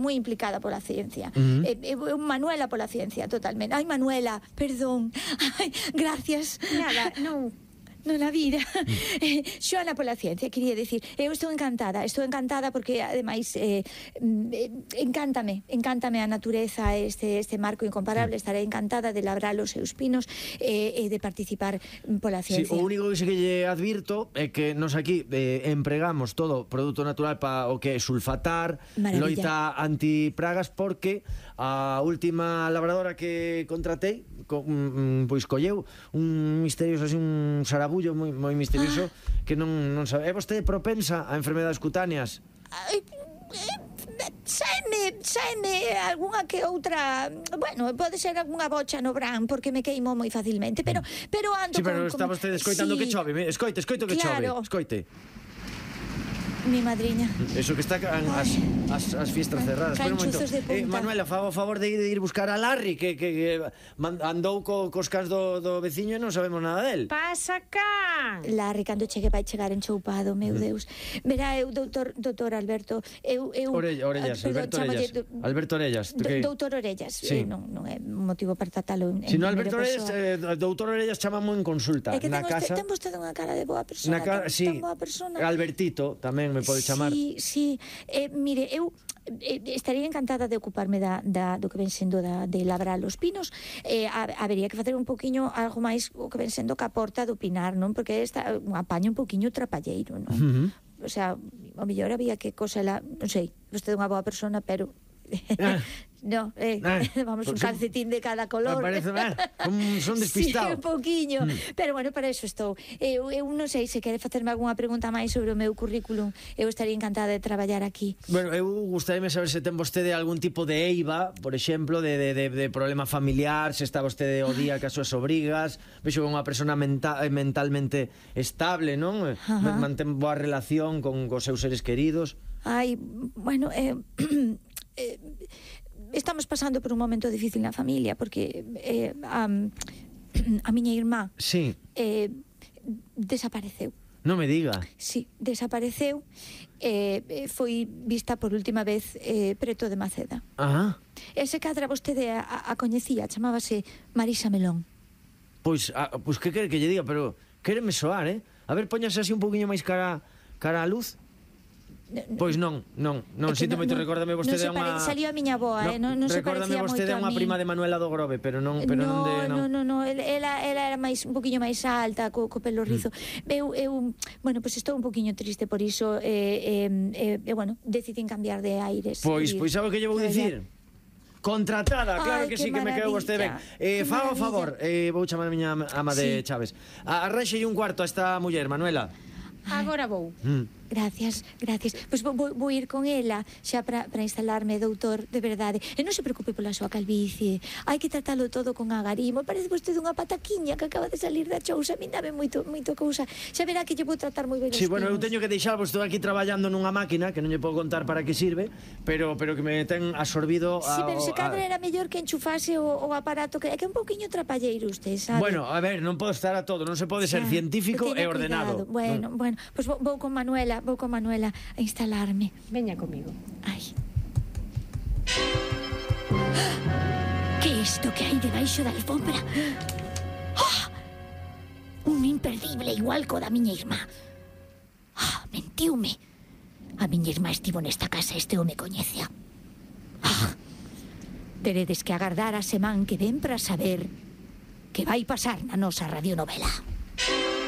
moi implicada pola ciencia. Manuela pola ciencia, totalmente. Ai, Manuela, perdón. Ai, gracias. Nada, non... Non a vida. Xoana pola ciencia, quería decir. Eu estou encantada porque, ademais, encántame a natureza, este marco incomparable. Estaré encantada de labrar os seus pinos e de participar pola ciencia. O único que lle advirto é que nos aquí empregamos todo produto natural para o que é sulfatar, loita antipragas, porque a última labradora que contratei pois colleu un misterioso, así, un sarabullo moi misterioso que non sabe. É vostede propensa a enfermedades cutáneas? Saime algunha que outra. Bueno, pode ser algunha bocha no bran, porque me queimo moi facilmente, pero ando. Sí, pero está vostede escoitando que chove. Escoite que chove. Escoite. Mi madriña. Eso que está as fiestras cerradas. Canchuzos de punta. Manuela, fa o favor de ir buscar a Larry, que andou cos cans do veciño e non sabemos nada del. Pasa cá! Larry, cando chegue vai chegar enchoupado, meu Deus. Verá, eu, doutor Alberto, Orellas, Alberto Orellas. Doutor Orellas, non é motivo para tratalo en Si no, Alberto Orellas, doutor Orellas chamamos en consulta. É que ten vostede unha cara de boa persona. Sí, Albertito tamén me pode chamar. Sí, mire, eu estaría encantada de ocuparme do que ven sendo de labrar os pinos. Habería que facer un poquinho algo máis o que ven sendo que aporta do pinar, non? Porque está un apaño un poquinho trapalleiro, non? O sea, o mellor había que cosela, non sei, vostede é unha boa persona, pero no, vamos, un calcetín de cada color. Parece, son despistado. Sí, un poquinho. Pero bueno, para eso estou. Eu non sei se quere facerme algunha pregunta máis sobre o meu currículum. Eu estaría encantada de traballar aquí. Bueno, eu gustaríame saber se ten vostede algún tipo de eiva, por exemplo, de problema familiar, se está vostede o día que as súas obrigas. Vexo que é unha persona mentalmente estable, non? Mantén boa relación con os seus seres queridos. Ai, bueno, estamos pasando por un momento difícil na familia, porque a miña irmá desapareceu. Non me diga. Sí, desapareceu. Foi vista por última vez preto de Maceda. Ese cadra vostede a coñecía, chamábase Marisa Melón. Pois que quere que lle diga, pero quéreme soar, A ver, póñase así un poquinho máis cara a luz. Pois non, sinto moito, recórdame vostede unha... Salió a miña boa, non se parecía moito a mí. Recórdame vostede unha prima de Manuela do Grove, pero non de... Non, ela era un poquinho máis alta, co pelo rizo. Bueno, pois estou un poquinho triste por iso, bueno, decidín cambiar de aires. Pois sabe o que lle vou dicir? Contratada, claro que sí, que me quedou vostede ben. Fa o favor, vou chamar a miña ama de Chaves. Arranxelle un cuarto a esta muller, Manuela. Agora vou. Gracias. Pois vou ir con ela xa para instalarme, doutor, de verdade. E non se preocupe pola súa calvicie. Hai que tratalo todo con agarimo. Parece vostede unha pataquiña que acaba de salir da chousa. A min dame moito cousa. Xa verá que lle vou tratar moi ben os pinos. Sí, bueno, eu teño que deixarvos. Estou aquí traballando nunha máquina que non lle podo contar para que sirve, pero que me ten absorbido. Sí, pero se cadra era mellor que enchufase o aparato, que é que é un pouquiño trapalleiro usted, sabe? Bueno, a ver, non podo estar a todo. Non se pode ser científico e ordenado. Bueno, pois vou con Manuela a instalarme. Veña comigo. Ai. Que é isto que hai debaixo da alfombra? Un imperdible igual co da miña irmá. Mentiume. A miña irmá estivo nesta casa, este home coñecea. Teredes que agardar a semana que ven para saber que vai pasar na nosa radionovela.